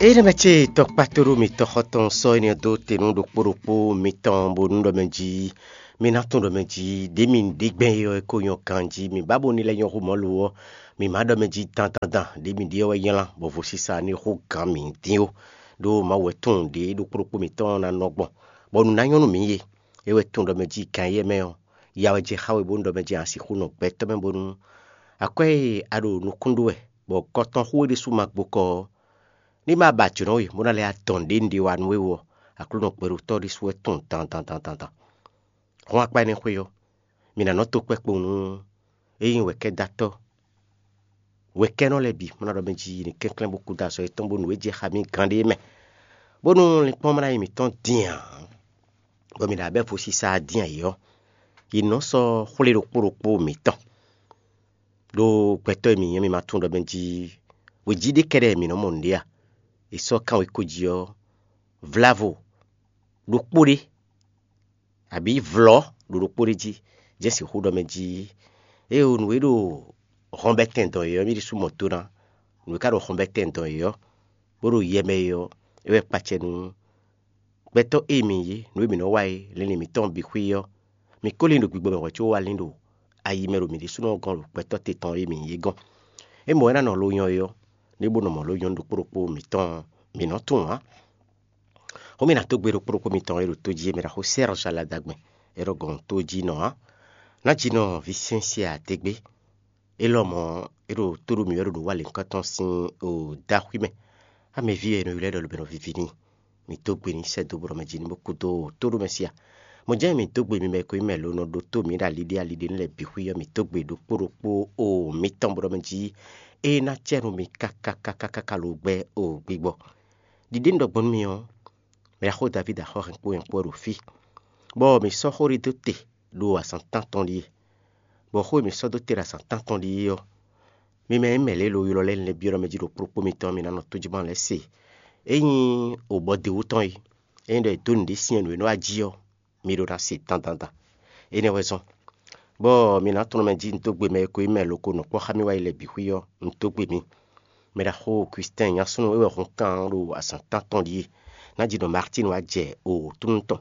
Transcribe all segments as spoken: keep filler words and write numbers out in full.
Énɛ́ mɛ ce tɔkpátoɖó mitɔn xɔtɔn sɔ́ énɛ́ dó te nú ɖokpó ɖokpó mitɔn bónú ɖɔ mɛ jí mi ná tunwun ɖɔ mɛ jí ɖě mi ɖe gbɛn é ɔ́, é ko nyɔ́ ganjí. Mi ba bo ní lɛ́ nyɔ́ xó mɔ̌ lo ɔ́, mi ma ɖɔ mɛ jí dandandan ɖě mi ɖe ɔ́ wɛ nylá bɔ vodúnsi ní xo gǎn mi dín ó. Ɖó Mawu wɛ tunwun ɖě ɖokpó ɖokpó mitɔn ná nɔ gbɔn, bɔ nǔ ná nyɔ́ nú mi yě. É wɛ tunwun ɖɔ mɛ jí gan éyɛ́ mɛ ɔ́, ya wɛ jɛ xá we bónú ɖɔ mɛ jí a sixú nɔ gbɛtɔ́ mɛ bónú akwɛ́ e a ɖo nukún ɖó wɛ, bɔ kɔ tɔn xú we ɖésú ma gbo kɔ ɔ́, ní ma ba jǒnɔ we bó ná lɛ́ adɔn ɖě un ɖe wa nú we ɔ́, Aklúnɔ gbɛɖotɔ́ ɖésú wɛ tunwun dandan dandan dan. Hɔn akpa énɛ́ xwé ɔ́, mǐ ná nɔ tó kpɛ́ kpowun nú é nyí wɛ̌kɛ́datɔ́ wɛ̌kɛ́nɔ lɛ́ɛ bǐ, bó ná ɖɔ mɛ jí yě ní kɛnklɛ́n bó kú dó azɔ̌ yětɔn bónú é jɛ xá mì gán ɖé mɛ, bónú linkpɔ́n ma ná nyí mǐtɔn din ǎ, bɔ mǐ ná bɛ́ vodúnsi din ayǐ ɔ́, yě nɔ sɔ́ xwlé ɖokpó ɖokpó mǐtɔn. Ɖó gbɛtɔ́ e mǐ nyí ɔ́, mi ma tunwun ɖɔ mɛ jí wějí ɖé kɛ́ɖɛ́ mǐ nɔ́ mɔ nǔɖé a? È sɔ́ kánwekó jí ɔ́, vlávo ɖokpó ɖé, abǐ vlɔ̌ ɖo ɖokpó ɖé jí, jɛ́n sixú ɖɔ mɛ jí éeǒ nǔ e ɖo hɔnbɛ́tɛn dɔn yě ɔ́, mì ɖésú mɔ do ná. Nǔ e ka ɖo hɔnbɛ́tɛn dɔn yě ɔ́, bó ɖo yɛ mɛ é ɔ́, é wɛ kpacɛ nú gbɛtɔ́ e mǐ nyí, nǔ e mǐ nɔ wa é, linlin mǐtɔn bǐ xwí ɔ́, mǐ ko lin ɖo gbigbɔ mɛ hwɛ̌ có wá lin ɖo ayi mɛ ɖo mǐ ɖésúnɔ gɔ́n ɖo gbɛtɔ́ te tɔn e mǐ nyí é gɔ́n. É mɔ̌ wɛ ná nɔ lo nyɔ é ɔ́, ní bó nɔ mɔ lǒ nyɔ́ ɖokpó ɖokpó mǐtɔn mǐ nɔ́ tunwun ǎ. Xó mì nǎ dó gbe ɖokpó ɖokpó mitɔn e ɖo tó jí é mɛ ɖaxó Sɛ́rɔ́ Saladagbɛn, é ɖo gɔ̌n tó jí nɔ ǎ. Ná jí nɔ Visɛ́nsia dégbé, é lɔmɔ̌ é ɖo tó ɖó mǐ wɛ ɖo nǔ wa lěhunkɔtɔn sín o dó axwí mɛ. Amɛví e è nɔ ylɔ́ ɖɔ lobɛ́nɔ viví n'i. Mǐ dó gbe n'i sɛ́ dó bó ɖɔ mɛ jí ní bó kú dó tó ɖó mɛ sia. Mɔ̌ jɛ́n mǐ dó gbe mi mɛ e ko nyí mɛ lo nɔ ɖótó mǐ ɖo aliɖé aliɖé nú lɛ́ɛ bǐ xwí ɔ́, mǐ dó gbe ɖokpó ɖokpó o mǐtɔn bó ɖɔ mɛ jí é ná cɛ nú mi káká káká káká lo gbɛ́ o gbigbɔ. Ɖiɖe un ɖɔ gbɔn nú mi ɔ́, mɛ e xó Davídi axɔ́ hɛn kpó nyɛ kpó wɛ ɖo fí, bɔ mǐ sɔ́ xó ɖé dó te ɖo azǎn tántɔn ɖíe, bɔ xó e mǐ sɔ́ dó te ɖo azǎn tántɔn ɖíe ɔ́, mi mɛ e nyí mɛ lě e lo ylɔ́ lɛ́ɛ lɛ́ɛ byɔ́ ɖɔ mɛ jí ɖo kplɔ́kpó mitɔn ɔ́, mi ná nɔ tójígbán lɛ́ɛ se. É nyí wǒbɔ́ d'é wú tɔn é, ényí ɖɔ è dó nǔɖé syɛ́n nǔ e nɔ wá jí ɔ́, mi ɖó ná se dandan dan. Énɛ́ wɛ zɔ́n, bɔ mi ná tunwun mɛ jí un dó gbe mɛ e ko nyí mɛ lo ko nɔ kpɔ́ xá mì wá yi lɛ́ɛ bǐ xwí ɔ́, un dó gbe mi. Mɛ ɖaxó Kwistɛ́n nyasúnú é wɛ hun kan ɖo azǎn tántɔn ɖíe, ná jí ɖɔ Martín wá jɛ o túnú tɔn,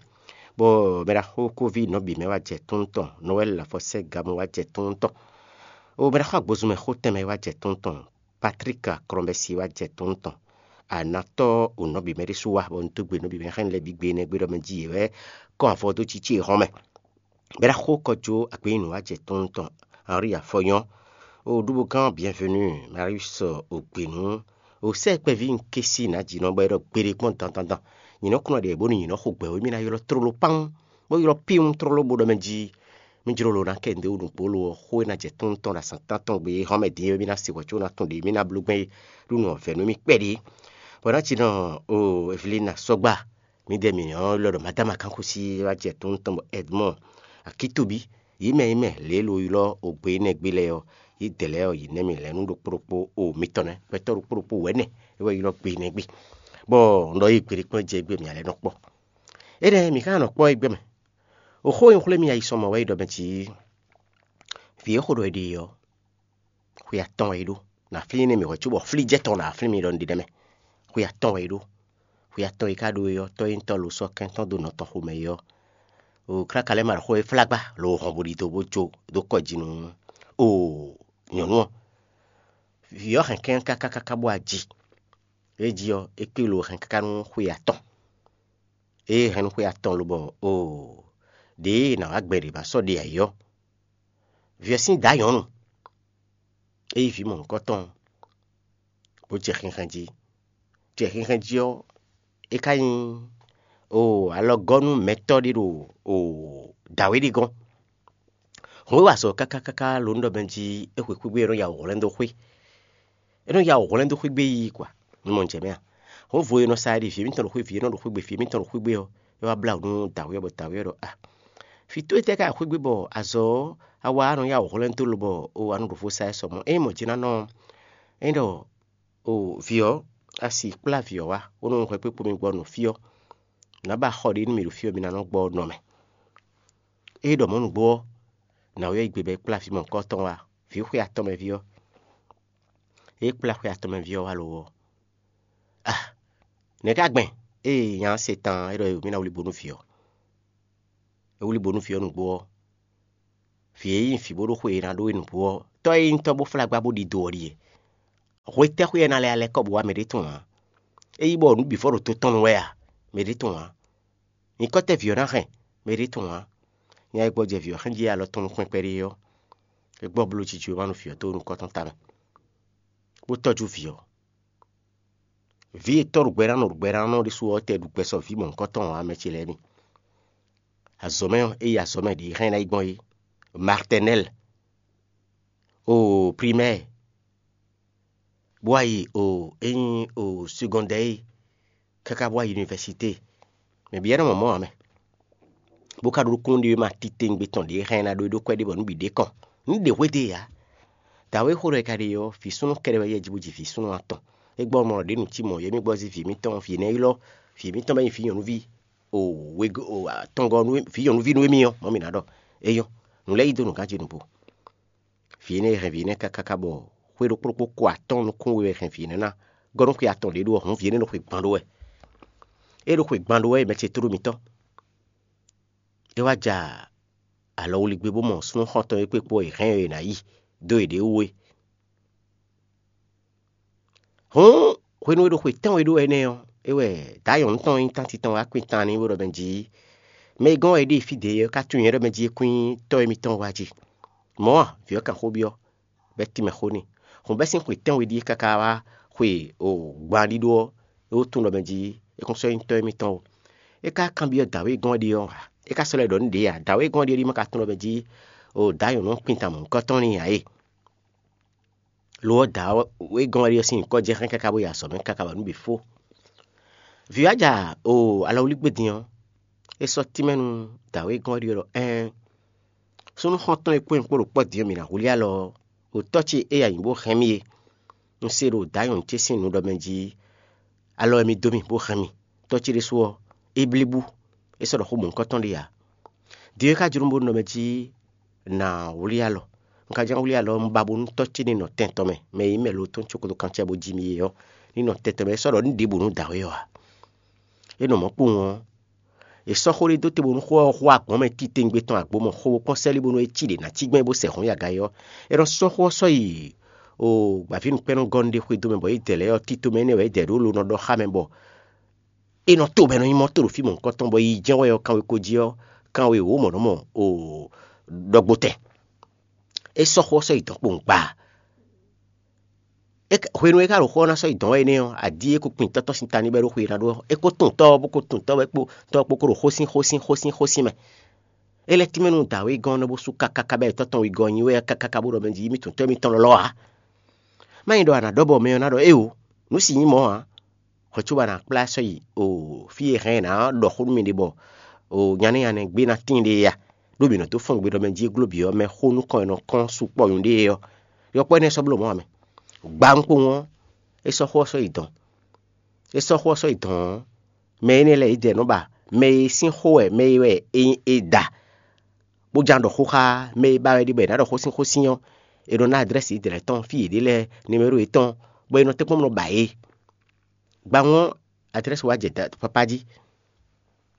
bɔ mɛ ɖaxó Kóví nɔbǐ mɛ wá jɛ túnú tɔn, Nɔwɛ́li Lafɔsɛ́gamu wá jɛ túnú tɔn, o mɛ ɖaxó agbozunmɛ xó tɛnmɛ wá jɛ túnú tɔn, Patrík Aklɔ́nbɛ́si wá jɛ túnú tɔn. Anatɔ́ o nɔbǐ mɛ ɖésú wá, bɔ un dó gbe nɔbǐ mɛ xá nyí lɛ́ɛ bǐ gbe énɛ́ gbe ɖɔ mɛ jí yě wɛ kɔn avɔ dó cící e hɔn mɛ. Bɛ́ ná xó kɔ jó agběnyinu wá jɛ tɔn tɔn Henri Afɔnyɔ́, o ɖuɖugán Bienvenu, Marius Ogbenu, o sɛ́ kpɛví un ké sí nǎ jǐ nɔ bɔ é ɖɔ gbeɖé kpɔ́n dandandan. Nyǐ nɔ kplɔ́n ɖě bónú nyǐ nɔ xo gbɛ wé mì ná ylɔ́ tlóló kpán, bó ylɔ́ píwún tlóló bó ɖɔ mɛ jí mì jló lo ná kɛ nǔɖé wú nǔgbó lo ɔ́, xó e ná jɛ tɔn tɔn ɖo azǎn tántɔn gbe é hɔn mɛ din é mì ná se hwɛ̌ có ná tɔn ɖě mì ná bló gbɛn é ɖó nǔ ɔ́ vɛ̌ nú mì kpɛɖé. Bɔ é ná ci nɔ o Evelina sɔ́gba, mǐdɛɛ mǐ ɔ́ ylɔ́ ɖɔ Madama Kanxusi wá jɛ tɔn tɔn bɔ Edmond Akitobi, yě mɛ yě mɛ lě e lo ylɔ́ o gbe énɛ́ gbe lɛ́ɛ ɔ́, yě dɛ lɛ́ɛ ɔ́, yě nɛ́ mì lɛ̌ nú ɖokpó ɖokpó o mitɔn nɛ́, gbɛtɔ́ ɖokpó ɖokpó wɛ̌ nɛ́ é wɛ ylɔ́ gbe énɛ́ gbe, bɔ un ɖɔ yí gbeɖé kplɔ́n jɛ égbé mǐ lɛ́ nɔ kpɔ́. Énɛ́ mǐ ká nɔ kpɔ́ égbé mɛ. O xó e un xwlé mi ayisɔmɔ wɛ é ɖɔ mɛ jǐ vǐ e xo ɖɔ è ɖe ɔ́, xwe atɔn wɛ é ɖó. Nǎ flín énɛ́ mǐ hwɛ̌ cóbɔ flíjɛ́tɔn nǎ flín mi ɖɔ un ɖe nɛ́ mɛ. Xwe atɔn wɛ é ɖó. Xwe atɔn e ka ɖó é ɔ́, tɔ́ e nyí tɔ́ lo sɔ́ kɛn tɔn dó nɔ tɔn xomɛ é ɔ́, o káká lɛ́ɛ ma ɖo xó e flá gbá lo hɔn bo ɖidó bó jó dó kɔ jí nú o nyɔ̌nu ɔ́. Vǐ ɔ́ hɛn kɛ́n káká káká bó wá ji. É jí ɔ́, é kpé lo hɛn káká nú xwe atɔn. Ée hɛn nú xwe atɔn lobɔ o ɖěe è nǎ wá gbɛ ɖě ma sɔ́ ɖe ayǐ ɔ́, vǐ ɔ́ sín dǎ nyɔ̌nu é yí vǐ mɔ̌hunkɔtɔn bó jɛ xinxɛn jí. Jɛ xinxɛn jí ɔ́, é ka nyí o alɔgɔ́nú mɛtɔ́ ɖé ɖo o dǎwe ɖé gɔ́n. Hǔn e wa azɔ̌ káká káká lo nú ɖɔ mɛ jí é xwe xwé gbé é nɔ ya wǔ hwlɛ́n dó xwé. É nɔ ya wǔ hwlɛ́n dó xwé gbé yi kwa. Mi mɔ jɛ mɛ a? Hǔn vo e nɔ sa ɖi vǐ émítɔn ɖo xwé vǐ é nɔ ɖo xwé gbe vǐ émítɔn ɖo xwé gbé ɔ́, é wá blá wǔ nú dǎwe ɔ́ bɔ dǎwe ɔ́ ɖɔ a fǐ towe tɛ́ ká xwé gbé bɔ azɔ̌ ɔ́ a wa nɔ ya wǔ hwlɛ́n dó lo bɔ o a nɔ ɖo vo sa ɛ sɔ mɔ̌. Ényí mɔ̌ jɛ́n ná nɔ ɔ́, é ɖɔ o vǐ ɔ́, a si kplá vǐ ɔ́ wá, bónú un hwɛ kpékpo mi gbɔ nɔ fí ɔ́, nǎ ba xɔ ɖé nú mì ɖo fí ɔ́, mi ná nɔ gbɔ nɔ mɛ. Ée ɖɔ mɔ̌ nǔgbó ɔ́, nǎwe ɔ́ yi gbe bɔ é kplá vǐ mɔ̌hunkɔtɔn wá, vǐ xwe atɔn mɛ ví ɔ́. Ée kplá xwe atɔn mɛ ví ɔ́ wá lo ɔ́, a Nɛ̌ ka gbɛn? Ée nya ɔ́ se tan ɔ́, é ɖɔ mǐ ná wlí bo nú vǐ ɔ́. É wlí bo nú vǐ ɔ́ nǔgbó ɔ́, vǐ e nyí vǐ bó ɖó xwe e ná ɖó é nǔgbó ɔ́, tɔ́ e nyí tɔ́ bó flá gbá bó ɖidó ɔ́ ɖíe. Hwetɛ́xwé ɛ ná lɛ́ alɛ́ kɔ bó wá mɛ ɖé tɔn ǎ? É nyí bɔ nǔ bǐ vɔ ɖo to tɔn nu wɛ a? Mɛ ɖé tɔn ǎ. Nyǐkɔ tɛ́ vǐ ɔ́ ná hɛn? Mɛ ɖé tɔn ǎ. Nya e gbɔjɛ vǐ ɔ́ xɛ́n jí alɔ tɔn nú kpɛ́nkpɛ́ ɖé ɔ́, é gbɔ bló jijɛ e ma nú vǐ ɔ́ dó nukɔn tɔn tamɛ, bó tɔ́jú vǐ ɔ́. Vǐ e tɔ́ ɖo gbɛ ná nɔ ɖo gbɛ ná nɔ ɖésú ɔ́ tɛ ɖu gbɛ sɔ vǐ mɔ̌hunkɔtɔn ǎ, mɛ ce lɛ́ɛ mi. Azɔ̌mɛ ɔ́, é yi azɔ̌mɛ ɖě xá nyí ná yi gbɔn é, maternelle, o primaire, bó wá yi o é nyí o secondaire, káká bó wá yi université. Mɛ bǐ ɛ́ nɔ mɔ mɔ̌ ǎ mɛ. Bó ka ɖó nukúnnú ɖé ma titewungbe tɔn ɖě xá nyí ná ɖó é ɖó kwɛ́ ɖé bɔ nǔ bǐ ɖě kɔn. Nǔ ɖě hwedó e ǎ. Dǎwe xó ɖɔ è ka ɖe ɔ́, vǐ súnnu kɛɖɛ wɛ yɛ jí bó ji vǐ súnnu atɔn. É gbɔ mɔ ɖě nǔ cí mɔ̌, yě mì gbɔ zí vǐ mǐtɔn, vǐ nɛ́ ylɔ́, vǐ mǐtɔn bɔ é nyí vǐ nyɔ̌nuví o wegɔ́ o atɔngɔ́ nú vǐ nyɔ̌nuví nú émí ɔ́, mɔ̌ mǐ ná ɖɔ. É nyɔ́, nǔ lɛ́ɛ yí dó nǔ ganjí nǔgbó. Vǐ énɛ́ e hɛn vǐ énɛ́ káká bɔ xwé ɖokpó ɖokpó ko atɔ́ɔ́n nukún we wɛ hɛn vǐ énɛ́ ná gɔ́ nú xwe atɔn ɖě ɖó ɔ́, hǔn vǐ énɛ́ ɖo xwe gban ɖó wɛ. É ɖo xwe gban ɖó wɛ, mɛ ce tló mitɔn. É wá ja alɔwlígbé bó mɔ súnnu xɔ́ntɔn e kpé kpó è hɛn ɔ́ è nǎ yi dó yěɖée wú é. Hǔn hwenu e ɖo xwe tɛ́nwe ɖó wɛ énɛ́ ɔ́, é wɛ dǎ nyɔ̌nu tɔn e nyí tánti tɔn wá kpin tan n'i bó ɖɔ mɛ jí: "Mɛ e gɔ́n wɛ è ɖe fí dě é ɔ́ ka tunwun nyɛ ɖɔ mɛ jí é kún nyí tɔ́ émítɔn wá jí." Mɔ̌ a? Vǐ ɔ́ kan xó byɔ́, bɔ é tínmɛ xó n'i. Hǔn bɛ́ sín xwe tɛ́nwe ɖíe káká wá xwe o gban ɖíɖó ɔ́, é wú tunwun ɖɔ mɛ jí é kún sɔ́ nyí tɔ́ émítɔn ó. É ka kanbyɔ́ dǎwe e gɔ́n wɛ ɖe ɔ́ ǎ. É ka sɔ́ lɛ́ ɖɔ nú ɖě ǎ. Dǎwe e gɔ́n wɛ ɖe ɔ́ ɖíe ma ka tunwun ɖɔ mɛ jí o dǎ nyɔ̌nu ɔ́ kpin tan mɔ̌hunkɔtɔn n'i ǎ é. Lo ɔ́, dǎwe e gɔ́n wɛ ɖe ɔ́ sín nyǐkɔ jɛ xɛ́n káká bó yi azɔ̌ mɛ káká bɔ nǔ bǐ fó. Vǐ wá ja o alɔwlígbé din ɔ́, é sɔ́ tínmɛ nú dǎwe e gɔ́n wɛ ɖe ɔ́ ɖɔ: "Ɛɛn, súnnu xɔ́ntɔn e kpó nyɛ kpó ɖo kpɔ́ din ɔ́, mǐ ná hwlí alɔ ɔ́, ɖo tɔ́ ce e a nyǐ bó hɛn mì é. Un se ɖo dǎ nyɔ̌nu ce sín nu ɖɔ mɛ jí alɔ wɛ mi dó mì bó hɛn mì. Tɔ́ ce ɖésú ɔ́, é blí bú, é sɔ́ ɖɔ xó mɔ̌hunkɔtɔn ɖé ǎ. Din ɔ́, é ka jló mì bónú ɖɔ mɛ jí nǎ wlí alɔ. Un ka ján wlí alɔ ɔ́, un ba bónú tɔ́ ce ní nɔ tɛn tɔn mɛ, mɛ e nyí mɛ lo tɔn cókó kan cɛ bó jí mì é ɔ́, ní nɔ tɛn tɔn mɛ. É sɔ́ ɖɔ nǔ ɖěbǔ nú dǎwe ɔ́ ǎ." É nɔ mɔ̌ kpowun ɔ́, è sɔ́ xó ɖé dó te bónú xó ɔ́ xo agbɔ̌n mɛ titewungbe tɔn agbo mɔ xo bó kpɔ́n sɛ́lí bónú é cí ɖě ná cí gbɛn bó sɛ hǔn yi aga é ɔ́, è nɔ sɔ́ xó ɔ́ sɔ́ yi o gbǎvínukpɛ́nnɔ́gɔ́nu ɖé xwedó mɛ, bɔ yě dɛ lɛ́ɛ ɔ́, tito mɛ énɛ́ wɛ é dɛ ɖó lo nɔ ɖɔ xá mɛ bɔ è nɔ to bɔ è nɔ nyi mɔ to ɖo fí mɔ̌hunkɔtɔn, bɔ yi jɛ́n wɛ ɔ́, kanwekó jí ɔ́, kanwe wǒ mɔ nɔ́ mɔ o ɖɔgbotɛn. É sɔ́ xó ɔ́ sɔ́ yi dɔ̌n kpowun gba. Hwenu e é ka ɖo xó ɔ́ ná sɔ́ yi dɔ̌n wɛ énɛ́ ɔ́, adi e ko kpin tɔ́tɔ́ sin ta n'i bɔ é ɖo xwe ná ɖó ɔ́, é ko tunwun tɔ́ ɔ́, bó ko tunwun tɔ́ ɔ́ kpó tɔ́ ɔ́ kpó kó ɖo xósin xósin xósin xósin mɛ. É lɛ́ tínmɛ nú dǎwe gɔ́n ɔ́ bó sú káká káká bɔ tɔ́ tɔn wegɔ́ ɔ́ nyi wɛ káká káká bó ɖɔ mɛ jí mì tunwun tɔ́ émítɔn lɔ́lɔ́ ǎ. Má nyí ɖɔ a nǎ ɖɔ bɔ mɛ ɔ́ ná ɖɔ éeǒ, nǔ si nyí mɔ̌ ǎ. Hwɛ cóbɔ a nǎ kplá sɔ́ yi o fí e hɛn ɛ ná ɖɔ xó nú mi ɖe bɔ o nyanɛ́ nyanɛ́ gbé ná tíin ɖe é a? Ɖó mǐ nɔ dó fɔ́n gbe ɖɔ mɛ jí e gló bǐ ɔ́ mɛ xó nukɔn e nɔ kɔn sukpɔ́ nyɔ̌ɖée ɔ́, yɔkpɔ́ énɛ́ sɔ́ bló mɔ̌ ǎ mɛ. Gba nukpowun ɔ́, é sɔ́ xó ɔ́ sɔ́ yi dɔ̌n. É sɔ́ xó ɔ́ sɔ́ yi dɔ̌n ɔ́, mɛ énɛ́ lɛ́ɛ yědɛɛ nɔ ba mɛ e sín xó wɛ mɛ e wɛ è da, bó ján ɖɔ xó xá mɛ e ba wɛ ɖi bɔ è nǎ ɖɔ xó sín xó sín ɔ́, è nɔ ná adrɛ́si yědɛɛ lɛ́ɛ tɔn fí yě ɖe lɛ́ɛ, nimero yětɔn, bɔ è nɔ tɛ́nkpɔ́n nɔ ba yě. Gbawun ɔ́, adrɛ́si wá jɛ papá jí,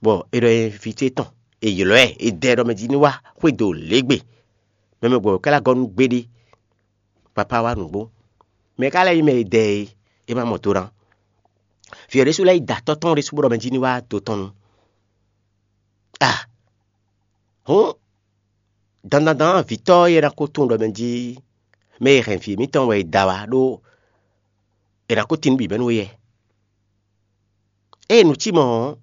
bɔ è ɖɔ nyi vǐ ce tɔn, è ylɔ́ ɛ, è dɛ ɖɔ mɛ jí ní wá xwedó lěgbe. Mɛ mɛ gbɔ̌ ka lɛ́ gɔ́ nú gbeɖé, papá wá nǔgbó. Mɛ ka lɛ́ nyí mɛ e dɛ é, é ma mɔ do ná. Vǐ ɔ́ ɖésú lɛ́ yi da tɔ́ tɔn ɖésú bó ɖɔ mɛ jí ní wá do tɔn nu. A hǔn dandandan vǐtɔ́ e ná ko tunwun ɖɔ mɛ jí mɛ e hɛn vǐ mǐtɔn wɛ è da wá ɖó è nǎ ko tín nǔ bǐ mɛ nú éyɛ́. Ée nǔ cí mɔ̌ ɔ́,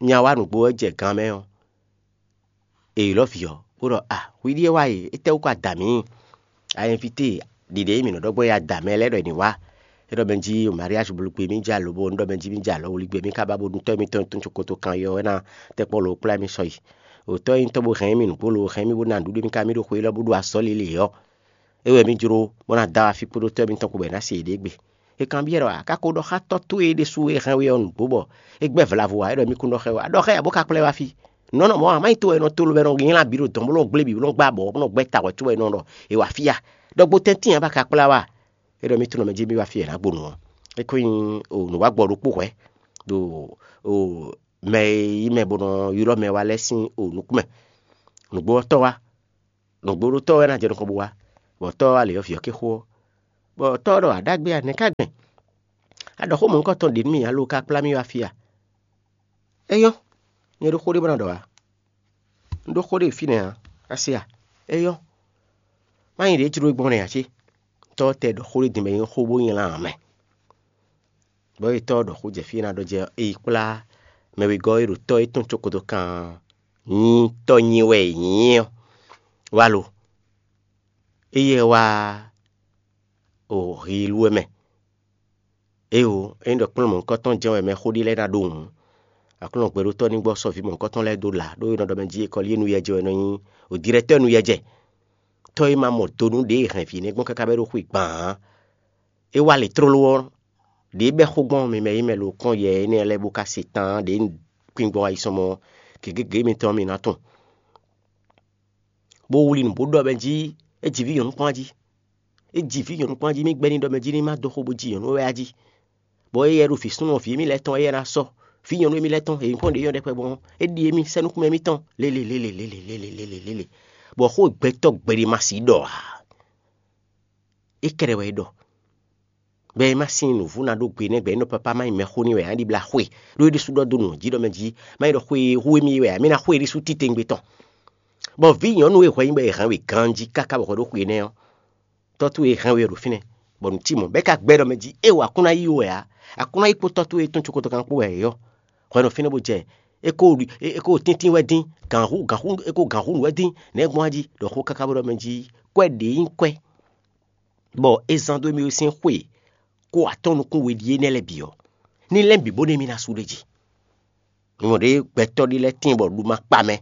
nya wá nǔgbó wɛ jɛ gan mɛ ɔ́, è ylɔ́ vǐ ɔ́, bó ɖɔ: "A hwi ɖíe wá e, étɛ́wú ko ada mǐ? A invité ɖiɖe e mǐ nɔ ɖɔ gbɔn é ada mɛ lɛ́ɛ ɖɔ è nǐ wá." É ɖɔ mɛ jí mariage blugbe mì jɛ alo bo un ɖɔ mɛ jí mì jɛ alɔ wligbe mì ka ba bo ɖu tɔ́ mitɔn tɔn cókoto kan yɔ wɛ ná tɛkpɔ́ lo kplá mì sɔ yi. Òtɔ́ e nyí tɔ́ bó hɛn mì nǔgbó lo hɛn mì bó ná nǔɖuɖu mì ka mì ɖo xwe élɔ́ bó ɖo azɔ̌ lili ɔ́, é wɛ mì jló bó ná dó afi kpódó tɔ́ mitɔn kpó bɔ è nǎ se yěɖée gbe. È kanbyɔ́ ɖɔ: "A ka ko ɖɔ xá tɔ́ towe ɖésú e hɛn we ɔ́ nǔgbó bɔ é gbɛ́ vla vo ǎ?" É ɖɔ: "Mì kún ɖɔ xá we ǎ. Ɖɔ xá ya bó ka kplá ɛ wá fí. Nɔ̌ nɔ mɔ̌ ǎ, má nyí to wɛ è nɔ to lo wɛ è nɔ nylá bǐ ɖo dɔ̌n bó nɔ gblé bǐ bó nɔ gbá abɔ̌ bó nɔ gbɛ́ ta hwɛ̌ cóbɔ è nɔ ɖɔ è wǎ fí a? Ɖɔ gbo tɛ́ntin ǎ bó ka kplá wá a?" É ɖɔ: "Mì tunwun mɛ jí mì wá fí e è nǎ gbo nǔ ɔ́." É ko nyí nǔwágbɔ ɖokpó hwɛ̌. ɖo o mɛ e yí mɛ bó nɔ ylɔ́ mɛ wá lɛ́ɛ sín o nukún mɛ. Nǔgbó ɔ́, tɔ́ wá, nǔgbó ɖó tɔ́ wɛ ná jɛ nukɔn bó wá, bɔ tɔ́ wá lě ɔ́, vǐ ɔ́ ké xo ɔ́, bɔ tɔ́ ɔ́ ɖɔ: ‘Aɖágbé a, nɛ̌ ká gbɛn? A ɖɔ xó mɔ̌hunkɔtɔn ɖě nú mì ǎ lo, ka kplá mì wá fí a? É nyɔ́, nyɛ ɖó xó ɖé bó ná ɖɔ ǎ. Un ɖó xó ɖé fínɛ́ ǎ, a se a? É nyɔ́, má nyí ɖě jló we gbɔn nɛ́ ǎ cé?’ Tɔ́ ɔ́ tɛ ɖɔ xó ɖé din bɔ é nyí xó bó nylá ǎ mɛ. Bɔ é tɔ́ ɔ́ ɖɔ xó jɛ fí e ná ɖɔ jɛ ɔ́, é yi kplá mɛ wegɔ́ e ɖo tɔ́ e tɔn cókoto kan nyí tɔ́ nyi wɛ è nyǐ ɔ́ wá lo. Éyɛ́ wá o hiilú ɛ mɛ. Éeǒ, ényí ɖɔ kplɔ́n mɔ̌hunkɔtɔn jɛ́n wɛ mɛxó ɖé lɛ́ɛ ná ɖó hǔn, Aklúnɔ gbɛɖótɔ́ ní gbɔ sɔ́ vǐ mɔ̌hunkɔtɔn lɛ́ɛ dó lǎ, ɖó è nɔ ɖɔ mɛ jí è kɔ lí é nú yɛ jɛ wɛ nɔ nyí o dirɛtɔ́ nú yɛ jɛ. Tɔ́ e ma mɔ do nú ɖě e hɛn vǐ énɛ́ gbɔn káká bɔ é ɖo xwe gban ǎ. É wá lě tlóló ɔ́, ɖě bɛ́ xó gbɔn mi mɛ e mɛ lo kpɔ́n yɛ énɛ́ lɛ́ɛ bó ka se tán ɖě un kpin gbɔn ayisɔnmɔ gěgé mitɔn ɔ́, mi ná tunwun. Bó wlí nǔ bó ɖɔ mɛ jí é ji vǐ nyɔ̌nu kpɔ́n jí. É ji vǐ nyɔ̌nu kpɔ́n jí, mì gbɛ́ ní ɖɔ mɛ jí ní má dó xó bó ji nyɔ̌nu wɛ a jí. Bɔ éyɛ́ ɖo vǐ súnnu vǐ émí lɛ́ɛ tɔn, éyɛ́ ná sɔ́ vǐ nyɔ̌nu émí lɛ́ɛ tɔn, è nyǐkɔ ɖě nyɔ́ ɖɛkpɛ gbɔn ɔ́, é ɖi émí sɛ́ nukúnmɛ émítɔn lélelélelélelélelélé. Bɔ xó gbɛtɔ́ gbeɖé ma sixú ɖɔ ǎ. É kɛɖɛ wɛ é ɖɔ. Bɔ é má sín nǔvú ná ɖó gbe nɛ́ gbɛ é nɔ papá má nyí mɛxó n'i wɛ ǎ, é ɖibla xwe, ɖó é ɖésú ɖɔ dó nǔ jí ɖɔ mɛ jí má nyí ɖɔ xwe e hu émí wɛ ǎ, mì ná xwe é ɖésú titewungbe tɔn. Bɔ vǐ nyɔ̌nu e hwɛ nyí bɔ è hɛn we ganjí káká bɔ hwɛ ɖó xwe énɛ́ ɔ́, tɔ́ towe e hɛn we ɔ́ ɖo fínɛ́, bɔ nǔ cí mɔ̌, bɔ é ka gbɛ́ ɖɔ mɛ jí é wɔ a kún ná yí we ǎ, a kún ná yí kpó tɔ́ towe e tɔ́n cókotɔ́ kán kpó wɛ é ɔ́, hwɛ nɔ fínɛ́ bó jɛ é ko é ko tíntín wɛ dín, gǎnhú gǎnhú é ko gǎnhú nǔ wɛ dín, nɛ̌ gbɔn a jí ɖɔ xó káká bó ɖɔ mɛ jí kwɛ́ ɖě nyí kwɛ́, bɔ é zán dó émí sín xwe kó atɔ́ nukún we ɖíe nɛ́ lɛ́ɛ bǐ ɔ́, ní lɛ́ɛ bǐ bó nú émí ná sú ɖ'é jí. Mi mɔ ɖě gbɛtɔ́ ɖé lɛ́ɛ tíin bɔ ɖu ma kpa mɛ,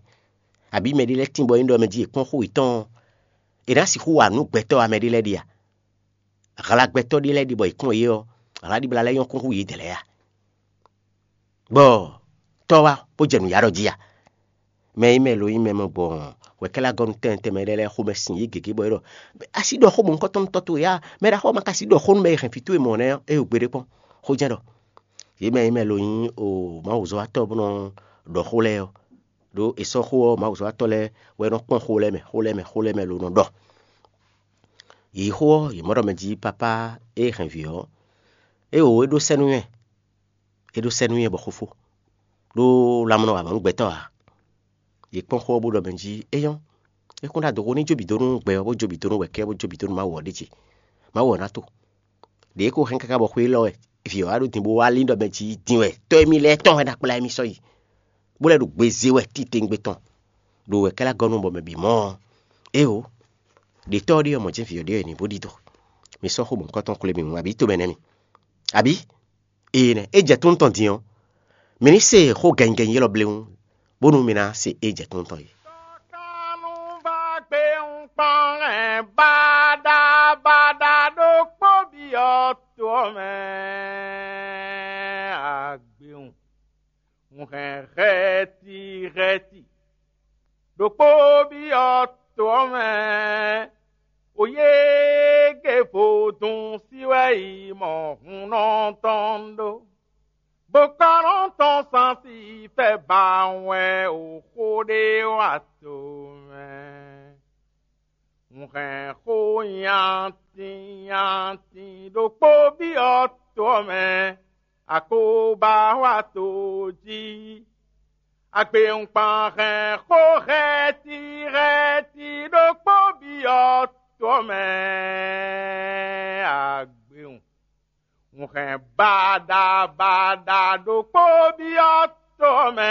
abǐ mɛ ɖé lɛ́ɛ tíin bɔ é ɖɔ mɛ jí è kpɔ́n xó yětɔn ɔ́, è nǎ sixú wa nǔ gbɛtɔ́ ɔ́ mɛ ɖé lɛ́ɛ ɖe a? Hla gbɛtɔ́ ɖé lɛ́ɛ ɖi bɔ è kpɔ́n yě ɔ́, hla ɖibla lɛ́ɛ nyɔ́ kún hú yědɛɛ lɛ́ɛ a? Bɔ tɔ́ wá bó jɛ nǔ ya ɖɔ jí a? Mɛ e mɛ lo nyí mɛ mɔ gbɔn wɛ̌kɛ́lá gɔ́ nú tɛnmɛ tɛnmɛ lɛ́ɛ lɛ́ɛ xomɛ sin yě gěgé bɔ é ɖɔ: Asi ɖɔ xó mɔ̌hunkɔtɔn nú tɔ́ towe a? Mɛ ɖaxó ɔ́ ma ka sixú ɖɔ xó nú mɛ e hɛn vǐ towe mɔ nɛ́ ɔ́, é ɖo gbeɖé kpɔ́n. Yě mɛ e mɛ lo nyí o Mawuzɔ́watɔ́ bó nɔ ɖɔ xó lɛ́ɛ ɔ́, ɖó è sɔ́ xó ɔ́ Mawuzɔ́watɔ́ lɛ́ɛ wɛ nɔ kpɔ́n xó lɛ́ɛ mɛ, xó lɛ́ɛ mɛ, xó lɛ́ɛ mɛ lo nɔ ɖɔ. Yě yi xó ɔ́, yě mɔ ɖɔ mɛ jí papá e hɛn vǐ ɔ́, é wǒ é ɖó sɛ́ nú nyɛ, é ɖó sɛ́ nú nyɛ bɔ xó fó, ɖó lanmɔ nɔ wa mɔ̌ nú gbɛtɔ́ ǎ. Yě kpɔ́n xó ɔ́ bó ɖɔ mɛ jí: É nyɔ́, é kún ɖo adoxo ní jó bǐ dó nú gbɛ ɔ́, bó jó bǐ dó nú wɛ̌kɛ́, bó jó bǐ dó nú Mawu ɔ́ ɖíe. Mawu ɔ́ ná to. Ɖě é ko hɛn káká bɔ xwé élɔ́ wɛ vǐ ɔ́ wá ɖo din bó wá lín ɖɔ mɛ jí din wɛ tɔ́ émí lɛ́ɛ tɔn wɛ ná kplá émí sɔ́ yi, bó lɛ́ ɖo gbe zé wɛ titewungbe tɔn, ɖo wɛ̌kɛ́lá gɔ́ nú bɔ mɛ bǐ mɔ ɔ́, éeǒ, ɖě tɔ́ ɔ́ ɖe ɔ́, mɔ̌ jɛ́n vǐ ɔ́ ɖe wɛ è nǐ bó ɖidó. Mi sɔ́ xó mɔ̌hunkɔtɔn xwlé mì hǔn, abǐ tomɛ nɛ́ mi? Abǐ? Ee nɛ́, é jɛ tónú tɔn din ɔ́, mǐ ní se xó gɛnnyigɛnnyi élɔ́ bléwún, bónú mi ná se é jɛ tónú tɔn é. Tɔkannú va gbé ń kpɔ́n hɛn baɖabaɖa ɖokpó byɔ́ to ɔ́ mɛ agbewun. Un hɛn hɛ̌ti hɛ̌ti ɖokpó byɔ́ to ɔ́ mɛ, oyége vodún sí wɛ yi mɔ hunnɔ tɔn ɖó. Bokɔ́nɔ tɔn sansi fɛ ba wɛ o xó ɖé wa to mɛ. Un hɛn xó nyatin nyatin ɖokpó byɔ́ to ɔ́ mɛ, akóba wa to jí. Agbewungban hɛn xó hɛ́ti hɛ́ti ɖokpó byɔ́ to ɔ́ mɛ, agbewun. Un hɛn baɖabaɖa ɖokpó byɔ́ to ɔ́ mɛ,